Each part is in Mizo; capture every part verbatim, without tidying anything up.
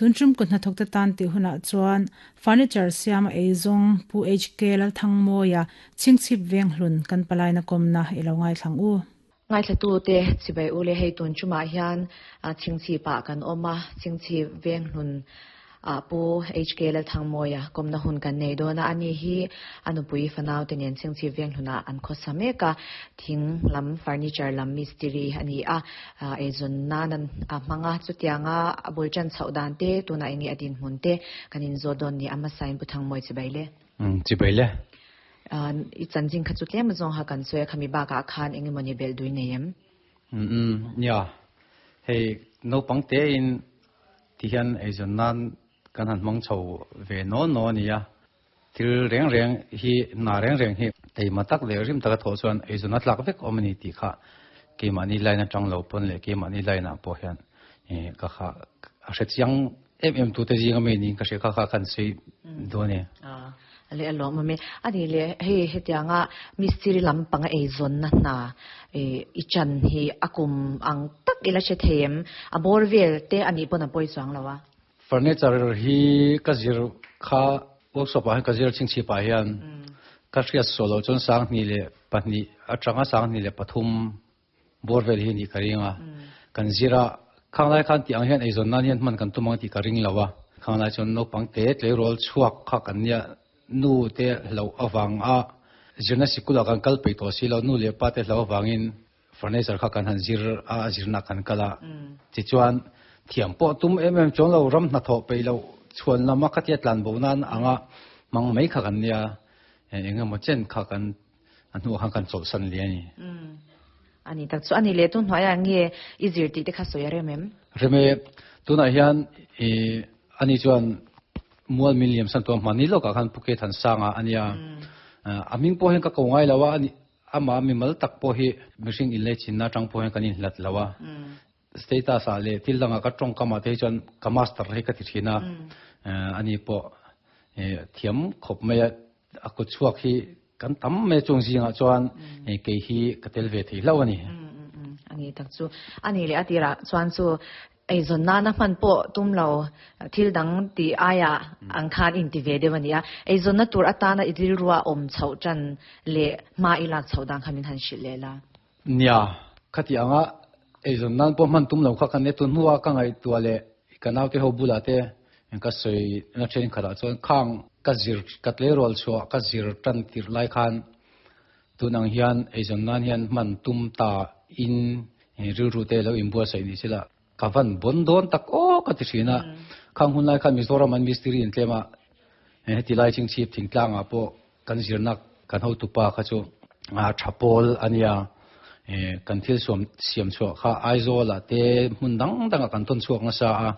Tuntum ku hnathawk te tan tih hunah chuan furniture siama eizawng Pu H K Lalthangmawia Chhingchhip Venghlun kan palaina kawmna i lo ngaithlang u. Ngaithlatute chibai ule. Hei, tun chumah hian Chhingchhipah kan awm a, Chhingchhip Venghlun a Pu H K Lalthangmawia kawmna hun kan nei dawn a. Ani hi a nupui fanau te nen Chhingchhip Venghlunah an khawsa mek a, thing lam, furniture lam mistiri ani a, eizawn nan an a hmanga. Chutianga a bul ṭan chhoh dan te, tunah enge a dinhmun te kan in zawt dawn ni. A hmasain Pu Thangmawi, chibai le. Chibai le. I chanchin kha chu tlem zawng ha kan sawi a, khami bakah khan engemawni belh dui nei em? um ya, hei, naupang te in ti hian eizawn nan kan han hmang chho ve no no ani a. Thil reng reng hi, na reng reng hi teima tak leh rim taka thawh chuan eizawn a tlak vek awm ani tih kha keimahni line atang lo pawn leh keimahni line ah pawh hian ka kha a hre chiang em em tu te zinga mi niin ka hria. Kha kha kan sawi dawn e. Le alawm ami ani le. Hei, hetianga mistiri lampanga eizawn na hna i chan hi a kum ang tak ila hre thei em? A bawr vel te ani pawn a pawi chuang lo a. Furniture hi ka zir kha workshop ah hian ka zir Chhingchhip ah hian. Ka hriat solo chuan sang hnih leh pahnih atanga sang hnih leh pathum bawr vel hi ni ka ringa kan zira. Khang lai khan ti ang hian eizawn nan hian hman kan tum ang tih ka ring lo a. Khang lai chuan naupang te tleirawl chhuak kha kan nia, nu te hlo awang a zirna sikula kan kal pei tawh si lo, nu leh pa te hlo awangin furniture kha kan han zir a, zirna kan kala. Ti chuan thiam pawh tum em em chuang lo, ram hna thawh pei lo chhuan lama khatia tlan bo nan anga mang mai kha kan nia. Engemaw chen kha kan a hnu khan kan chawlh san li ani. Ani tak chu ani le. Tun hnuaiah nge i zir tih te kha sawi a rem em? Reme. Tunah hian i ani chuan mual min liam san to mani lo ka khan Phuket han sanga ania. A ming pawh hian ka ko ngai lo a, ani ama mi mal tak pawh hi mihring in le chin na tang pawh hian kan in hlat lo a. Status a le thil danga ka tawng kama te chuan ka master hi ka ti thina. Ani pawh thiam khawp mai a, a ku chhuak hi kan tam mai chung zingah chuan kei hi ka tel ve thei hlo ani. Ani tak chu ani le. Atira chuan chu eizawn nana hman pawh tum lo, thil dang ti aia ang khan in ti ve deuh ani a. Eizawn na tur atana i rilrua awm chhoh ṭan leh hma i lak chhoh dan kha min han hrilh leh la. Nia, khati anga eizawn nan pawh hman tum lo kha kan ne. Tun hnuah ka ngaihtuah leh ka naute ho bula te ka sawi na then khatah chuan khang ka zir ka tleirawl chhuah ka zir tan tir lai khan tunang hian eizawn nan hian hman tum ta in rilru te lo inbuat saih ni sila ka van bon dawn tak aw ka ti thina. Khang hun lai khan Mizoram an mistiri in tlema, heti lai Chhingchhip thingtlangah pawh kan zirna kan hotupa kha chu a thapawl ania. Kan thil suam siam chhuah kha Aizawl ah te hmun dang dangah kan tawn chhuak nasa a.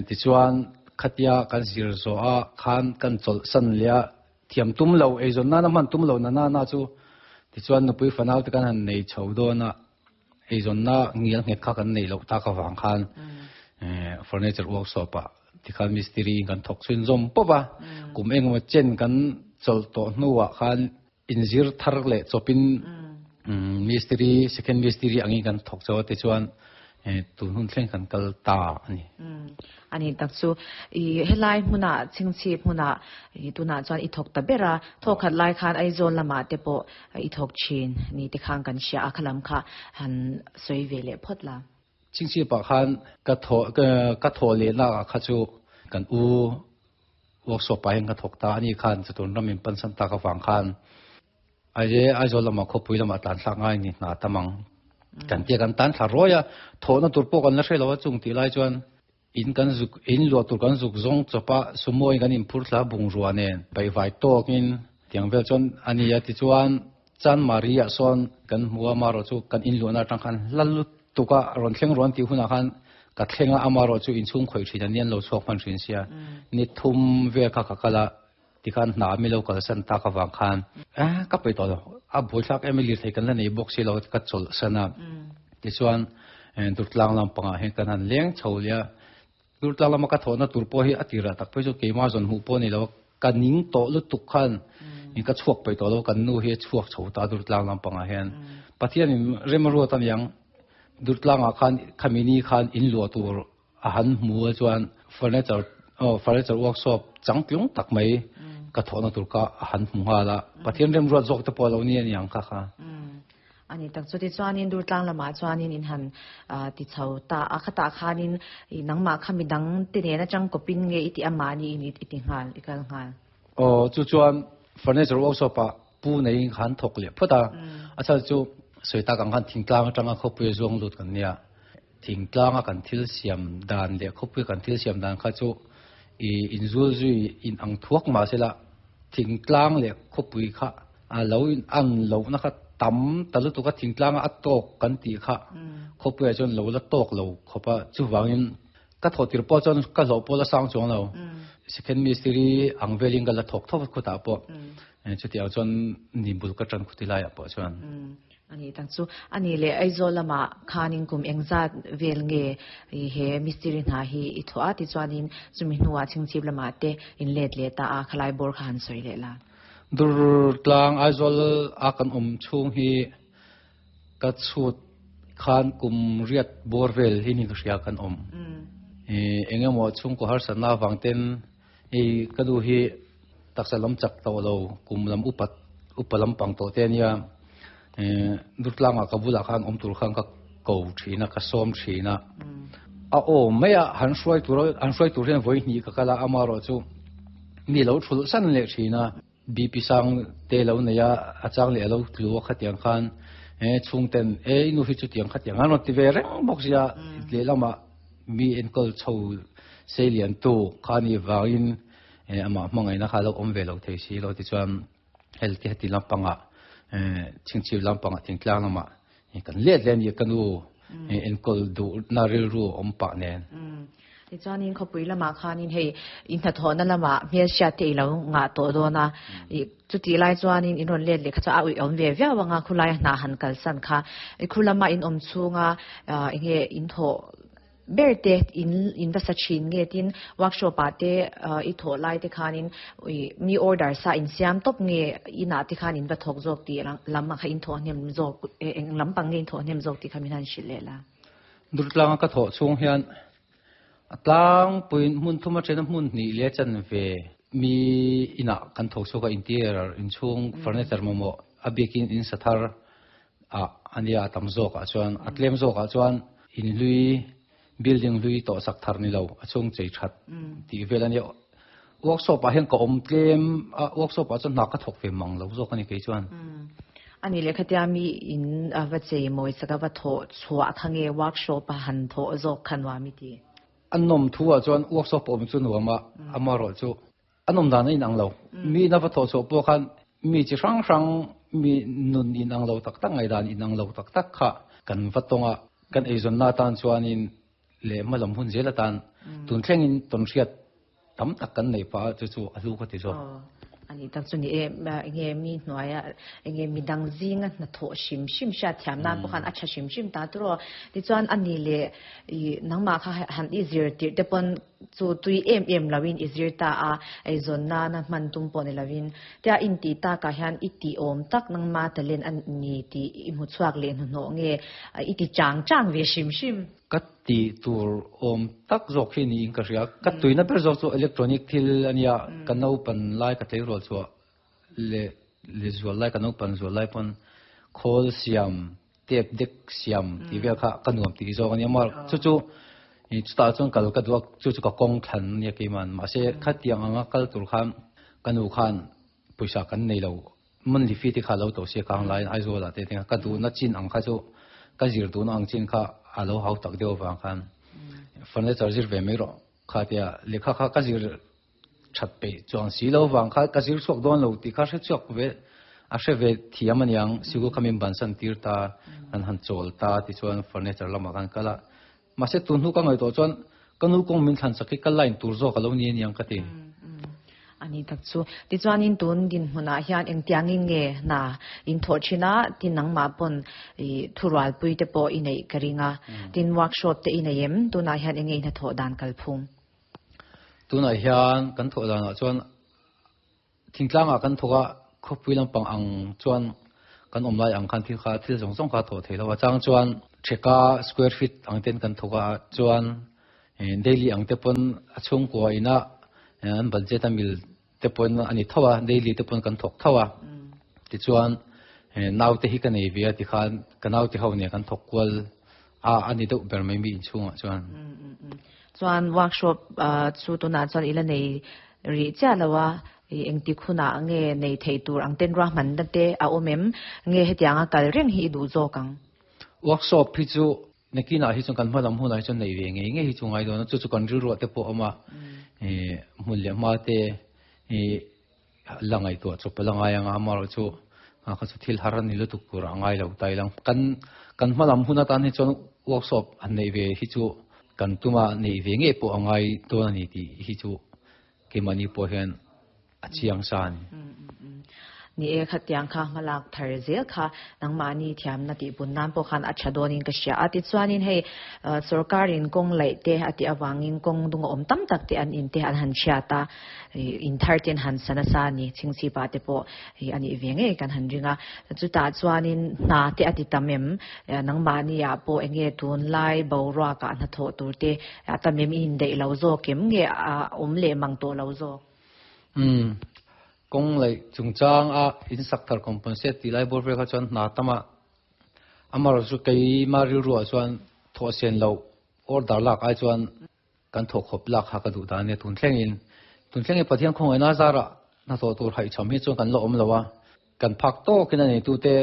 Tichuan khatia kan zir zawh a khan kan chawlh san leh a, thiam tum lo, eizawn nana hman tum lo na na na chu, tichuan nupui fanau te kan han nei chho dawn a, eizawn na ngial nghet kha kan nei loh tak awang khan furniture workshop ah tikhan mistiri kan thawk chhun zawm pawp a. Kum engemaw chen kan chawlh tawh hnuah khan inzir thar leh chawpin mistiri, second mistiri angin kan thawk chaw. Tichuan tun hun thleng kan kal ta ani. Ani tak chu. I helai hmuna, Chhingchhip hmuna i tunah chuan i thawk ta bera. Thawk khat lai khan Aizawl lamah te pawh i thawk thin ni te khan kan hria a, khalam kha han sawi ve leh phawt la. Chhingchhip ah khan ka tho ka thaw leh na kha chu kan u workshop ah hian ka thawk ta ani. Khan chutun ramin pan san tak awang khan aje Aizawl lamah, khawpui lamah tlan thlak ngai ni hna tamang kan tia kan tan thla rawi a, thawhna tur pawh kan la hre lo a. Chung tih lai chuan in kan zuk in luah tur kan zuk zawng chawpa, sumo in kan inphur thla bungrua nen paihvai tawkin tiang vel chuan ani a. Tichuan Chan Maria sawn kan hmu a, maro chu kan in luahna atang khan hla lutuka rawn thleng ruan tih hunah khan ka thlenga. Amaro chu inchhung khawih thin ani, an lo chhuak hman thin sia. Ni thum vel kha ka kala, tikhan hna mi lo kalsan tak awang khan a ka pei tawh lo, a buaithlak em, lir thei kan la nei bawk si lo, ka chawlh sana. Tichuan Durtlang lampangah hian kan han leng chho lia. Durtlang lama ka thawhna tur pawh hi a tirah tak phei chu keima zawn hmuh pawh ni lo, ka ning tawh lutuk khan in ka chhuak pei tawh lo. Kan nu hi a chhuak chho ta Durtlang lampangah hian. Pathianin rem ruat aniang, Durtlangah khan khamini khan in luah tur a han hmu a. Chuan Furniture oh furniture workshop changtlung tak mai ka thawhna tur ka han hmu nghal a Pathian remruat zawk te pawh lo ni aniang kha kha. Ani tak chu ti chuanin Durtlang lamah chuanin in han ti chho ta a khatah khanin nangmah kha midang te nen atang kawpin nge i ti amah ni in i ti nghal i kal nghal. Aw chu chuan furniture workshop ah pu neiin khan thawk leh phawt a a chhan chu sawi tak ang khan thingtlang atanga khawpui a zuang lut kan nia thingtlang a kan thil siam dan leh khawpui kan thil siam dan kha chu i inzul zui in ang thuak mahsela thingtlang leh khawpui kha a lo in an lohna kha tam ta lutuk a thingtlang a tawk kan tih kha khawpui ah chuan lo la tawk lo khawp a chuvangin ka thawh tir pawh chuan ka hlawh pawh la sang chuang lo second mistry ang velin ka la thawk thawk khutah pawh chutiang chuan ni bul ka tan khuti laiah pawh chuan. Ani tak chu ani leh Aizawl lamah khanin kum engzat vel nge he mistry hna hi i thawh a tichuanin chumi hnuah Chhingchhip lamah te in let leh ta a khalai bawr kha han sawi leh la. Durtlang Aizawl a kan awm chhung hi ka chhut khan kum riat bawr vel hi ni ka hria kan awm. Engemaw chhungkaw harsatna avang ten hei ka nu hi taksa lam chak tawh lo kum lam upat upa lampang tawh te ania Durtlangah ka bulah khan awm tur khan ka ko thin a ka sawm thin a a aw mai a han hruai tur han hruai tur hian vawi hnih ka kal a amaherawh chu mi lo thulh san leh thin a B P sang te lo nei a a chang leh a lo tlu a khatiang khan chhungten e i nu hi chutiang khatiang an rawn ti ve reng bawk sia lehlamah mi enkawl chho sei lian tu kha ni vangin amah hmangaihna kha lo awm ve lo thei si lo tichuan hel te heti lampangah Chhingchhip lampangah thingtlang lamah kan let leh a ni ka nu enkawl duhna rilru awm pah nen. Tichuanin khawpui lamah khanin hei in hnathawhna lamah hmelhriat te i lo ngah tawh dawn a, chutih lai chuanin in rawn let leh kha chu a uih awm ve viau ang a, khulaia hna han kalsan kha khu lama in awm chhunga enge in thawh ber te in in va sa thin nge tin workshop ah te i thawh lai te khanin mi order sa in siam tawp nge inah te khan in va thawk zawk tih lam kha in thawh hnem zawk eng lampang nge in thawh hnem zawk tih kha min han hrilh leh la. Durtlanga ka thawh chhung hian a tlangpuiin hmun thum a then a hmun hnih leh chan ve mi inah kan thawk chhuak a interior inchhung furniture mamawh a bikin in sa thar ah ania a tam zawk ah chuan a tlem zawk ah chuan in hlui building hlui tawh sak thar ni lo a chhung chei that tih vel ania workshop ah hian ka awm tlem a workshop ah chuan hna ka thawk ve mang lo zawk ani kei chuan. Ani lehkhatia mi in a va chei mawi sak a va thawh chhuah kha nge workshop a han thawh zawk kha nuam i ti. A nawm thu ah chuan workshop awm chu nuam a amaherawh chu a nawm dan a inang lo mi in a va thawh chhuah pawh khan mi chi hrang hrang mi nun inang lo tak tak ngaihdan inang lo tak tak kha kan va tawng a kan eizawnna atan chuanin leh hmalam hun zel atan tun thlengin tawnhriat tam tak kan nei pah a chu chu a hlu ka ti zawk. Ani tak chu ni e enge mi hnuaia enge midang zinga hnathawh hrim hrim hriat thiam nan pawh khan a tha hrim hrim ta tur aw. Tichuan ani leh i nangmah kha han i zir tirh te pawn chu tui em em loin i zir ta a eizawn nana hman tum pawh ni loin tia intih takah hian i tih awm tak nangma talent a ni tih i hmu chhuak leh hnuhnawh nge i ti chang chang ve hrim hrim. Ka tih tur awm tak zawk hi niin ka hria. Ka tuina ber zawk chu electronic thil a nia, ka naupan lai ka tleirawl chhuah leh leh zual lai ka naupan zual lai pawn khawl siam, tape deck siam tih vel kha ka nuam tih zawk a nia. Mar chu chu chutah chuan kal ka duh a, chu chu ka kawng thlan a nia keiman. Mahse khatiang anga kal tur khan ka nu khan pawisa kan nei lo, monthly fee te kha lo to sia kang laiin Aizawl ah te te ka duhna chin ang kha chu ka zir duhna ang chin kha a lo hau tak deuh avang khan furniture zir ve mai rawh kha tia lehkha kha ka zir that peih chuang si lo avang kha ka zir chhuak dawn lo tih kha hre chhuak ve a hre ve thiam aniang sikul kha min bansan tir ta kan han chawl ta tichuan furniture lamah khan kal a mahse tun hnu ka ngaihtuah chuan ka nu kawng min thlan sak hi ka line tur zawk a lo ni aniang ka ti. Ani tak chu. Tichuanin tun dinhmunah hian engtiangin nge hna in thawh thin a, tin nangmah pawn i thurualpui te pawh i neih ka ring a, tin workshop te i nei em? Tunah hian enge i hnathawh dan kalphung? Tunah hian kan thawh danah chuan thingtlangah kan thawk a, khawpui lampang ang chuan kan awm lai ang khan thil kha thil zawng zawng kha thawh thei lo a, chang chuan theka square feet ang ten kan thawk a, chuan Daily ang te pon a chung ko ina an budget amil te pon ani thawa daily te pon kan thok thawa ti chuan nau te hi ka nei ve ti khan ka nau te ho ne kan thok kwal a ani deuh ber mai mi in chunga chuan chuan workshop chu tuna chuan ila nei ri cha lawa eng ti khuna nge nei thei tur ang ten ra man na te a omem nge hetianga kal reng hi du zo kang workshop hi chu nekina hi chu kan hmalam hun ai chu nei ve nge nge hi chu ngai do na chu chu kan ri ro te po ama e mun le ma te e langai to chu palangai anga amar chu a kha chu thil har ani lu tuk tur angai lo tai lang kan kan hmalam hun atan hi chuan workshop an nei ve hi chu kan tuma nei ve nge po angai to ani ti hi chu ke mani po hian a chiang sa ni ni e khatiang kha malak thar zel kha nangma ni thiam na ti bun nan po khan acha donin ka sia ati chuanin hei sarkarin kong lai te ati awangin kong dung om tam tak te an in te an han chia ta in thar ten han sana sa ni chingchi pa te po ani venge kan han ringa chu ta chuanin na te ati tamem nangma ni ya po enge tun lai bo ra ka na tho tur te atamem in dei lo zo kem nge om le mang to lo zo um kong lai chungchang a in sak thar compensate ti lai bor ve kha chuan na tama amar chu kei ma ril ru chuan tho sen lo order lak ai chuan kan tho khop lak ha ka du da ne tun thleng in tun thleng e pathian khong na zara na tho tur hai cham hi chuan kan lo om lowa kan phak to kina nei tu te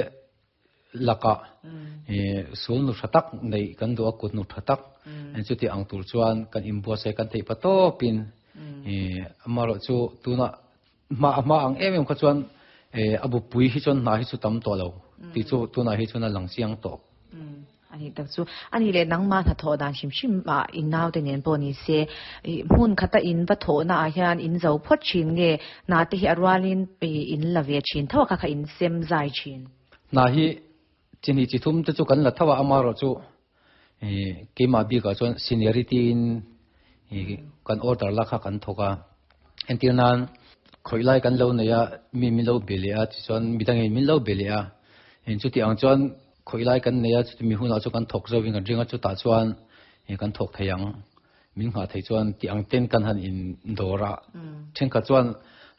laka e sul nu thatak nei kan du a kut nu thatak an chu ti ang tur chuan kan imbo se kan thei pa to pin e amaro chu tuna ma ma ang em em kha chuan e abu pui hi chuan na hi chu tam to lo ti chu tuna hi chuan a lang chiang to ani tak chu ani le nang ma tha tho dan shim shim ma in nau te nen po ni se mun khata in va tho na a hian in zo phot chin nge na te hi arwalin in la ve chin thawa kha kha in sem zai chin na hi chini chi thum te chu kan la thawa amaro chu e ke ma bi ka chuan seniority in kan order la kha kan thoka entirnan khoilai kan lo neya mi mi lo belia chi chuan midang in min lo belia in chu ti ang chuan khoilai kan neya chu mi huna chu kan thok zo wing kan ringa chu ta chuan e kan thok theiang min nga thei chuan ti ang ten kan han in dora then kha chuan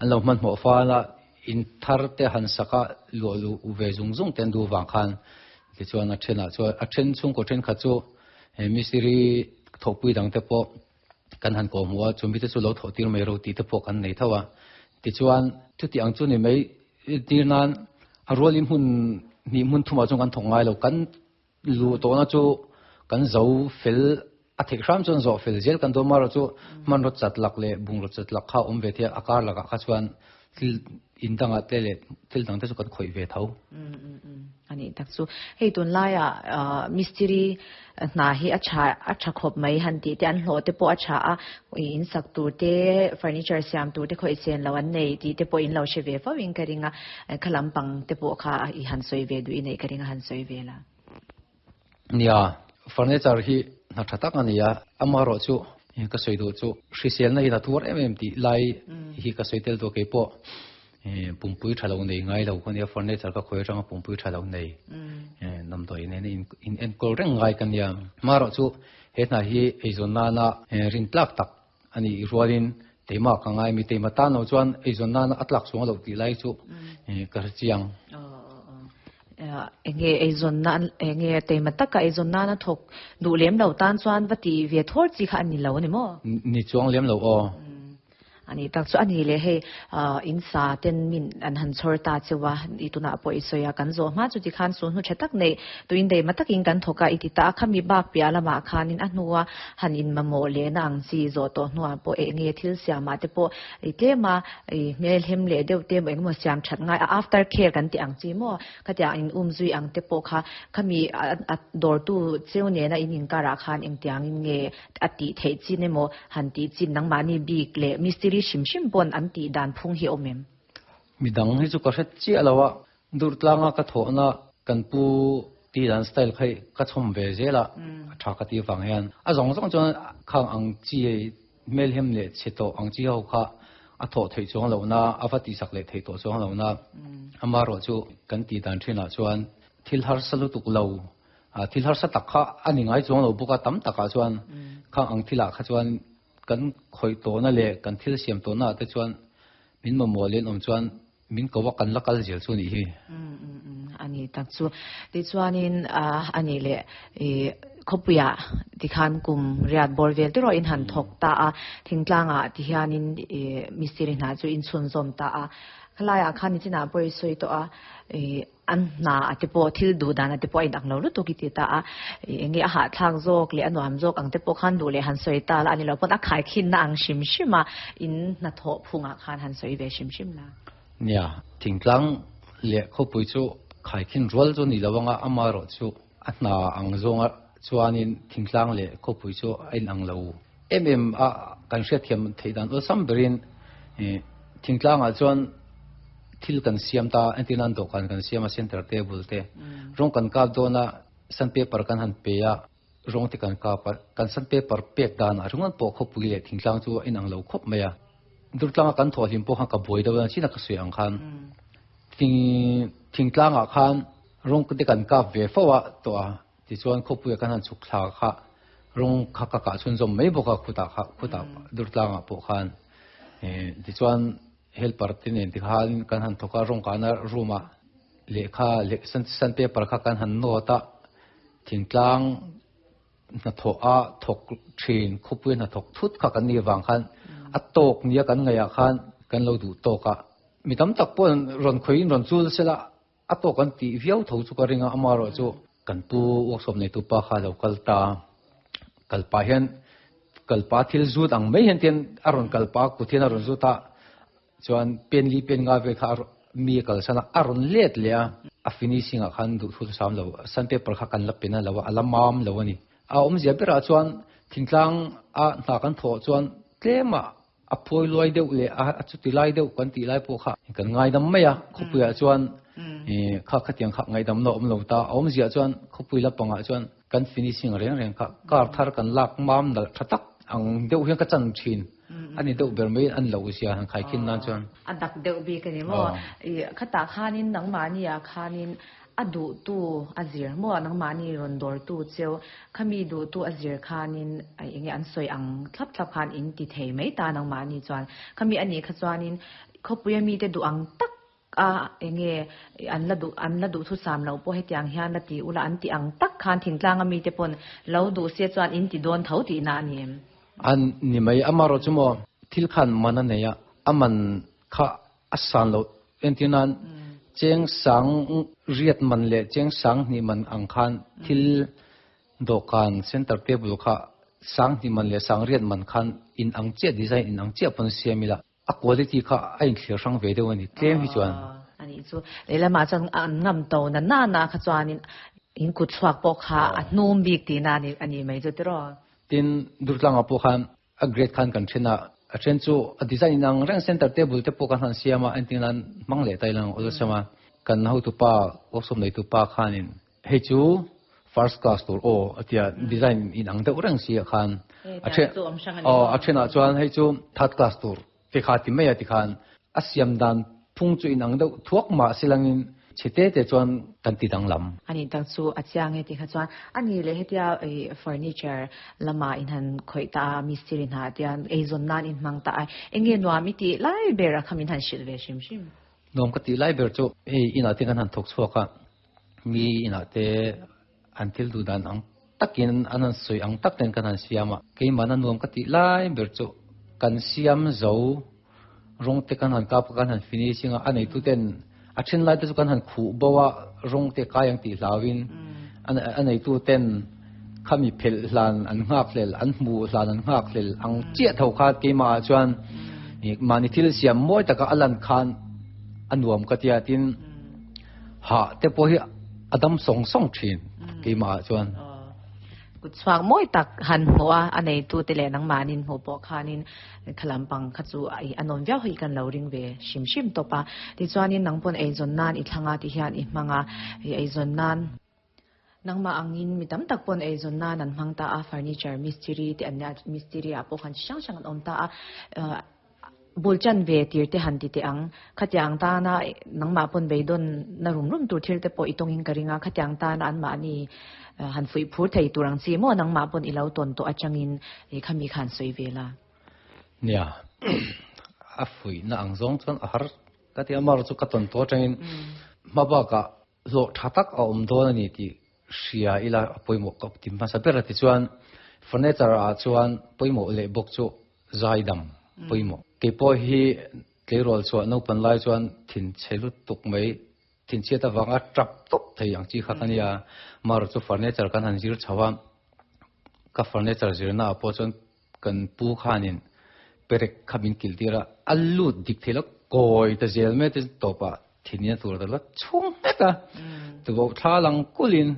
an lo man mo fa la in thar te han saka lo lu u ve zung zung ten du wang khan ti chuan a thena chuan a then chung ko then kha chu e misiri thokpui dang te po kan han ko muwa chumi te chu lo tho tir mai ro ti te po kan nei thawa ti chuan chu ti ang chu ni mai tir nan a rolim hun ni mun thuma chung kan thongai lo kan lu to na chu kan zo fel a thek ram chon zo fel zel kan do mar chu man ro chat lak le bung ro chat lak kha om ve the akar laka kha chuan thil in danga te le thil dang te chu kan khoi ve tho ani tak chu hei tun lai a mystery na hi a cha a cha khop mai han ti te an hlo te po a cha a in sak tur te furniture siam tur te khoi sen lo an nei ti te po in lo she ve fa wing ka ringa khalam pang te po kha i han soi ve du i nei ka ringa han soi ve la nia furniture hi na thatak ania amaro chu ka soi do chu hrisel na hi na tur em em ti lai hi ka soi tel do ke po pumpui thalo nei ngai lo khania furniture ka khoi ranga pumpui thalo nei nam doi ne in in en kol reng ngai kan ya maro chu he na hi eizon na na rin tlak tak ani rualin tema ka ngai mi tema ta no chuan eizon na na atlak chuang lo ti lai chu ka chiang enge eizon na enge tema taka eizon na na thok du lem lo tan chuan vati ve thor chi kha ani lo ni mo ni chuang lem lo o ani tak chu ani le hei in sa ten min an han chor ta chewa ituna po isoya kan zo ma chu ti khan su nu chatak nei tuin dei ma takin kan thoka iti ta khami bak pia lama khanin a hnuwa han in mamo le na ang chi zo to hnuwa po e nge thil siama te po i te ma i mel hem le deuh te mo engmo siam that ngai after care kan ti ang chi mo khatia in um zui ang te po kha khami a dor tu cheu ne na in in kara khan eng tiang in nge ati thei chi ne mo han ti chin nang mani bik le mystery shim shim bon an ti dan phung hi omem mi dang hi chu ka hret chi alawa dur tlanga ka tho na kan pu ti dan style khai ka chom ve zela tha ka ti wang hian a zong zong chuan khang ang chi mel hem le cheto ang chi ho kha a tho thei chuang lo na awa ti sak le thei to chuang lo na ama ro chu kan ti dan thina chuan thil har salu tuk lo a thil har sa tak kha ani ngai chuang lo buka tam taka chuan Khang ang thila kha chuan kan khoi to na le kan thil siam to na te chuan min mo mo len om chuan min ko wa kan lakal zel chu ni hi. Mm mm mm ani tak chu ti chuanin a ani le e khopuya ti khan kum riat bor vel te ro in han thok ta a thingtlanga ti hianin e mistiri na chu in chun zom ta a khalaya khan ni china poi soi to a e an na ate po thil du dan ate po in ang lo lu to ki ti ta a enge a ha thak zok le anuam zok ang te po khan du le han soi ta la ani lo pon a khai khin na ang shim shima in na tho phunga khan han soi ve shim shim la. Nia thingtlang le khopui chu khai khin rol chu ni lawanga ama ro chu a na ang zonga chuanin thingtlang le khopui chu ain ang lo em em a kan hria thiam theidan o sam berin e thingtlang a chuan thil kan siam ta antinan do kan kan siam a center table te rong kan kap dona san paper kan han pe a rong te kan kap kan san paper pek dan a rungan po khopui le thingtlang chu in ang lo khop maya durtlang kan tho hlim po khan ka boi do china ka sui ang khan thing thingtlang a khan rong te kan kap ve fawa to a ti chuan khopui kan han chuk thla kha rong kha ka ka chun zom mai boka khuta kha khuta durtlang a po khan e ti chuan helper tin en ti khan kan han thoka rong kana ruma le kha le san san paper kha kan han no ta thingtlang na tho a thok thin khopui na thok thut kha kan ni wang khan a tok nia kan ngaya khan kan lo du toka mitam tak pon ron khoin ron chul sela a to kan ti viau tho chu ka ringa ama ro chu kan pu workshop nei tu pa kha lo kalta kalpa hian kalpa thil zut ang mai hian ten aron kalpa ku thian aron zuta chuan pen li pen nga ve kha mi kal sana aron let le a finishing a khan du thu sam lo san paper kha kan la pena lo alamam lo ani a om zia pera chuan thingtlang a na kan tho chuan tlema a phoi loi deuh le a chuti lai deuh kan ti lai po kha kan ngai dam mai a khopuia chuan e kha khatiang kha ngai dam no om lo ta om zia chuan khopui la panga chuan kan finishing reng reng kha kar thar kan lak mam dal thatak ang deuh hian ka chan thin ani deuh ber mai an lo sia han khai khin nan chuan a dak deuh bi ka ni mo e khata khanin nang mani a khanin adu tu azir mo nang mani ron dor tu cheu khami du tu azir khanin ai enge an soi ang thlap thlap khan in ti thei mai ta nang mani chuan khami ani kha chuanin khopuya mi te du ang tak a enge an la du an la du thu sam lo po hetiang hian la ti ula an ti ang tak khan thingtlang ami te pon lo du se chuan in ti don tho ti na ani an ni mai amaro chumo thil khan mana neya aman kha asan lo entinan cheng sang riat man le cheng sang ni man ang khan thil dokan center table kha sang ni man le sang riat man khan in ang che design in ang che pon siamila a quality kha a in thlir sang ve deuh ani tlem hi chuan ani chu leila ma chang an ngam to na na na kha chuanin in ku chuak po kha a hnum bik ti na ani ani mai chu tiro tin durtlang a po khan a grade khan kan thena a then chu a design ang reng center table te po kan han siama antinan mang le tailang ol sama kan ho tu pa workshop nei tu pa khanin hei chu first class tur o atia design in ang deuh reng si khan a then o a thena chuan hei chu third class tur te kha ti mai a ti khan a siam dan phung chu in ang deuh thuak ma silangin chite te chuan kan ti dang lam ani tang chu achiang he ti kha chuan ani le hetia furniture lama in han khoi ta mistiri na tian ei zon nan in mang ta enge nuami ti lai bera khamin han shil ve shim shim nom ka ti lai ber chu ei ina te kan han thok chuaka mi ina te an thil du dan ang takin an an soi ang tak ten kan han siama ke mana nom ka ti lai ber chu kan siam zo rong te kan han kap kan han finishing a anei tu ten a then lai te chu kan han khu bawa rong te kayang ti hlawin an anei tu ten khami phel hlan an ngak hlel an mu hlan an ngak hlel ang che tho kha ke ma chuan mani thil siam moi taka alan khan anuam ka tia tin ha te po hi adam song song thin ke ma chuan กุดสวางมวยตักหันหัวอันในตัวเตเลนังมานินหัวปอคานินขลัมปังขจูไออนนท์เวียวให้กันเหลาริงเวชิมชิมตัวปะที่จวานินนังปนไอจนนานอีทางอาที่เฮียนอีมังอาไอจนนานนังมาอังอินมีตั้มตักปนไอจนนานนันมังตาอาเฟอร์นิเจอร์มิสซิรีที่อันนี้มิสซิรีอาปอขันช่างช่างอันอมตาอา Bul chan ve tir te han ti te ang khatiang ta na nangma pon beidon na rum rum tur thil te po itong in karinga khatiang ta na an ma ni han fui phur thei turang chi mo nangma pon ilo ton to achangin e khami khan soi vela. Nia a fui na ang zong chon a har ka ti amar chu ka ton to changin ma ba ka lo thatak a om don ani ti ria ila poimo ka tim ma sa ber ti chuan furniture a chuan poimo le bok chu zaidam poimo ke po hi tleirol chuan no pan lai chuan thin chelu tuk mai thin che ta wanga trap top thei ang chi kha kania mar chu furniture kan han zir chawa ka furniture zir na po chuan kan pu khanin perek khabin kiltira allu dik thela koi ta zel me te topa thinia tur ta la chung ta tu bo tha lang kulin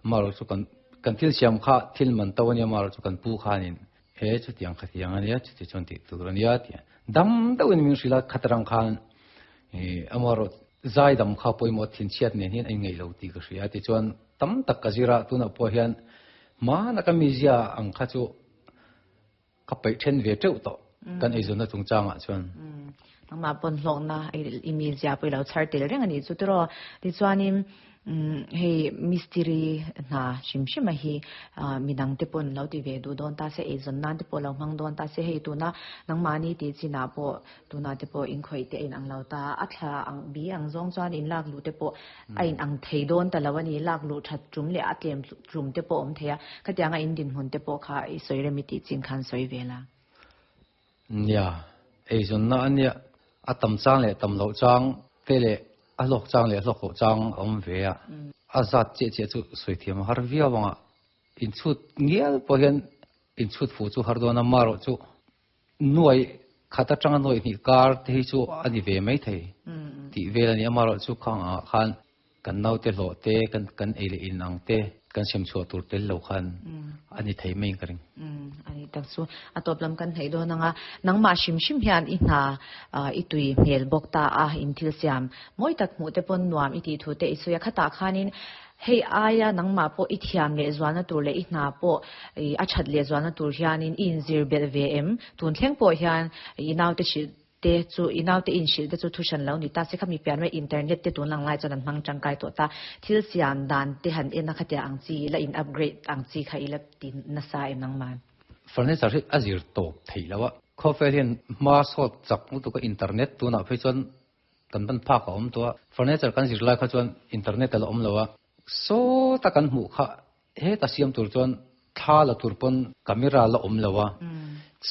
mar chu kan kan thil siam kha thil man tawanya mar chu kan pu khanin he chu tiang kha tiang ania chu ti chon ti tur ania ti dam dawin min sila khatrang khan e amaro zai dam kha poimo thin chiat ne hin ai ngei lo ti ka ria ti chuan tam tak ka zira tuna po hian ma na ka mi zia ang kha chu ka pai then ve teu to kan ei zona chung changa chuan ma pon hlong na imi zia pui lo char tel reng ani chu tro ti chuanin hei mystery na shim shim a hi midang te pon lo ti ve du don ta se ei zon nan te po lo mang don ta se hei tu na nang mani ti chi na po tu na te po in khoi te in ang lo ta a thla ang bi ang zong chuan in lak lu te po a in ang thei don ta lawani lak lu that chum le a tlem chum te po om theya khatianga in din hun te po kha i soi remi ti chin khan soi vela. Nia ei zon na ania a tam chang le tam lo chang te le a lok chang le lok ho chang om ve a a zat che che chu soi thiam har via wanga in chut ngial po hian in chut fu chu har dona maro chu nuai khata chang noi ni kar te hi chu ani ve mai thei ti vel ani amaro chu khang a khan kan nau te lo te kan kan ei le in ang te kan sem chu tur tel lo khan ani thei mai ka ring. Ani tak chu atop lam kan thei do nanga nangma shim shim hian i hna i tui hmel bok ta a in thil siam moi tak mu te pon nuam i ti thu te isuya khata khanin hei aya nangma po i thiam le zwana tur le i hna po a that le zwana tur hianin in zir bel ve em tun thleng po hian i nau te chi te chu inaw te in shil te chu thushan lo ni ta se khami pian me internet te tun lang lai chuan an hmang tangkai to ta thil siam dan te han en a khatia ang chi la in upgrade ang chi kha ila tin na sa em nang man furniture hi azir top thei lawa khofel hian ma sot chak mu tu ka internet tu na phei chuan kan ban pha ka om to furniture kan zir lai kha chuan internet la om lawa so ta kan mu kha he ta siam tur chuan tha la tur pon camera la om lawa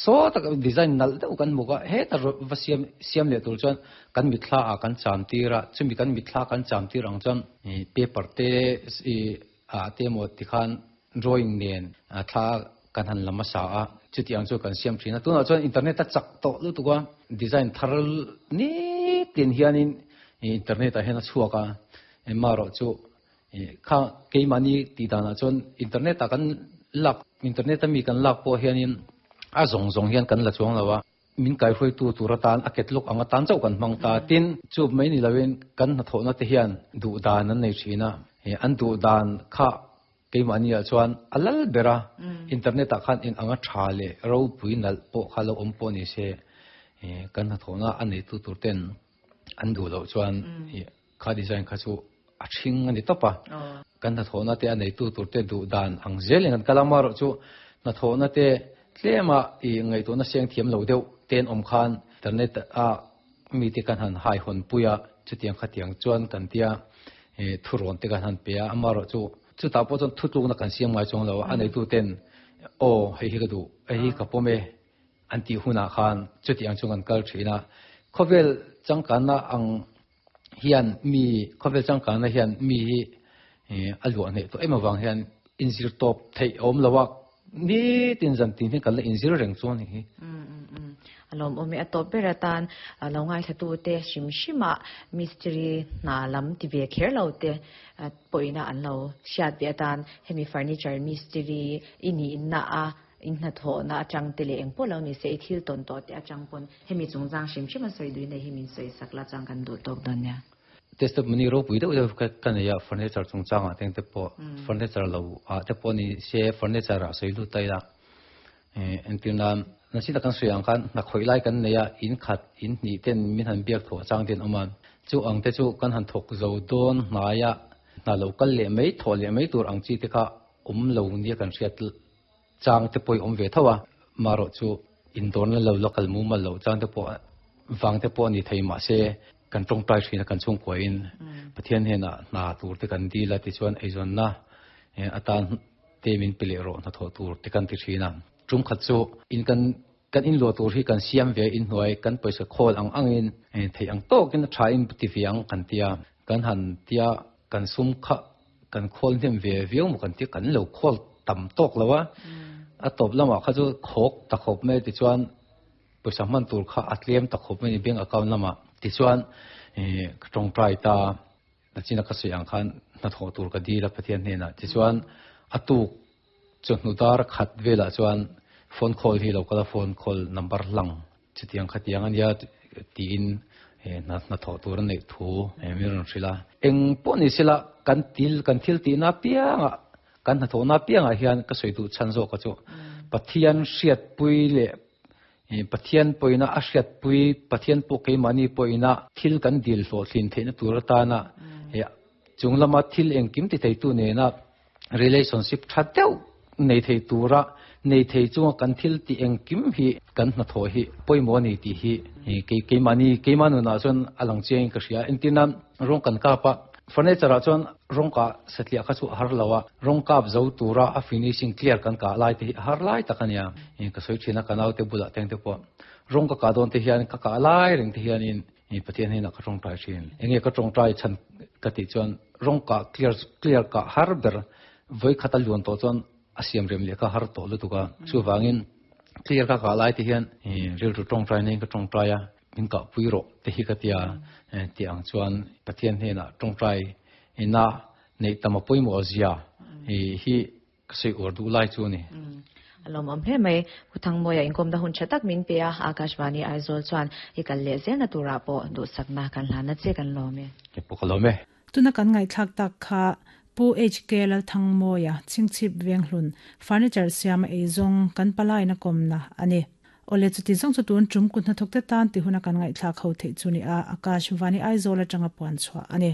so ta design nal deuh kan muka he ta va siam siam le tur chuan kan mithla a kan cham tira chumi kan mithla kan cham tir ang chuan paper te i a te mo ti khan drawing nen a thla kan han lama sa a chuti ang chu kan siam thina tuna chuan internet a chak to lu tuka design thar ni tin hianin internet a hena chuaka ma ro chu kha keimani ti dana chuan internet a kan lak internet a mi kan lak po hianin a zong zong hian kan la chuang lawa min kai hroi tu turatan a ketluk anga tan chau kan mang ta tin chu mai ni lawin kan na thona te hian du dan an nei thina he an du dan kha keimani a chuan alal bera internet a khan in anga tha le ro pui nal po khalo om po ni se kan na thona an nei tu tur ten an du lo chuan kha design kha chu a thing ani topa kan na thona te an nei tu tur te du dan ang zel an kalamar chu na thona te tlema i ngai to na siang thiam lo deuh ten om khan internet a mi te kan han hai hon puya chutiang khatiang chuan kan tia e thuron te kan han pe a amaro chu chu ta po chon thutluk na kan siam ngai chong lo anei tu ten o hei hi ka du hei ka pome an ti huna khan chutiang chung an kal thina khovel changkan na ang hian mi khovel changkan na hian mi hi alwa nei to ema wang hian inzir top thei om lawak ni tin zan tin hi kan la inzir reng chuan hi. Alom omi atop beratan lo ngai thatu te shim shima mystery na lam ti ve kher lo te poina an lo siat be atan hemi furniture mystery ini na a in na tho na achang te le eng po lo ni se thil ton to te achang pon hemi chungchang shim shima soi dui nei himin soi sakla chang kan du tok don ya test mani ro pui deuh ka kan ya furniture chungchang a teng te po furniture lo a te po ni se furniture a soi lu tai la e entina Na si kan sui ang khan na khoi lai kan neya in khat in ni ten min han biak tho chang ten oman chu ang te chu kan han thok zo don hnaya na local le mai tho le mai tur ang chi te kha um lo nia kan hriat chang te poi om ve thawa maro chu in don la lo local mu ma lo chang te po wang te po ni thei ma se kan tong tai thina kan chung ko in Pathian he na na tur te kan di la ti chuan eizon na atan te min pile ro na tho tur te kan ti thina tum khat chu in kan kan in lo tur hi kan siam ve in hnuai kan paisa khol ang angin thei ang to kin tha in ti fiang kan tia kan han tia kan sum kha kan khol hnem ve viau mu kan ti kan lo khol tam tok lawa a top lama kha chu khok ta khop me ti chuan paisa man tur kha atlem ta khop me ni bank account lama ti chuan tong trai ta na china ka sui ang khan na tho tur ka di la Pathian hne na ti chuan atuk chu hnudar khat vela chuan phone call hi lo kala phone call number lang chutiang khatiang ania ti in na na tho tur nei thu mi ron hrila eng pawh ni sila kan til kan thil ti na pianga kan na tho na pianga hian ka soi du chan zo ka chu Pathian hriat pui le Pathian poina a hriat pui Pathian pawh keimahni poina thil kan dil hlawh thlin theihna tur atana chunglama thil engkim ti thei tu nena relationship tha deuh nei thei tura nei thei chunga kan thil ti engkim hi kan hna tho hi pawimawh ani tih hi kei keimahni keimahnu nah chuan a lang chiang ka hria entirna rawng kan kap a furniture ah chuan rawng kah satliah kha chu a har lo a rawng kap zo tura a finishing clear kan kah lai te hi a har lai tak ania ka sawi thin a ka naute bulah teng te pawh rawng ka kah dawn te hian ka kah lai reng te hianin Pathian hian ka tawngtai thin enge ka tawngtai chan ka tih chuan rawng kah clear clear kah har ber voi khat a luan tawh chuan a siam rem leh kha har tawh lutuk a chuvangin clear ka kah lai te hian rilru tawngtai nei ka tawngtai a min kah pui rawh te hi ka tia ti ang chuan Pathian hnenah tawngtai na nei tam a pawimawh zia hi ka sawi uar duh lai chu ani. Alawm awm hle mai. Pu Thangmawia inkawmna hun tha tak min pe a, Akashvani Aizawl chuan i kal leh zelna turah pawh duhsakna kan hlan a che kan lawm e. Ke pawh ka lawm e. Tuna kan ngaihthlak tak kha Pu HK Lalthangmawia, Chingchhip Venghlun, Furniture siama eizawng kan palaina kawmna a ni. Awle chuti zawng chu tun tum kut hnathawk te tan ti huna kan ngaihthlak ho theih chu ni a, Akashvani Aizawl atanga puan chhuah a ni.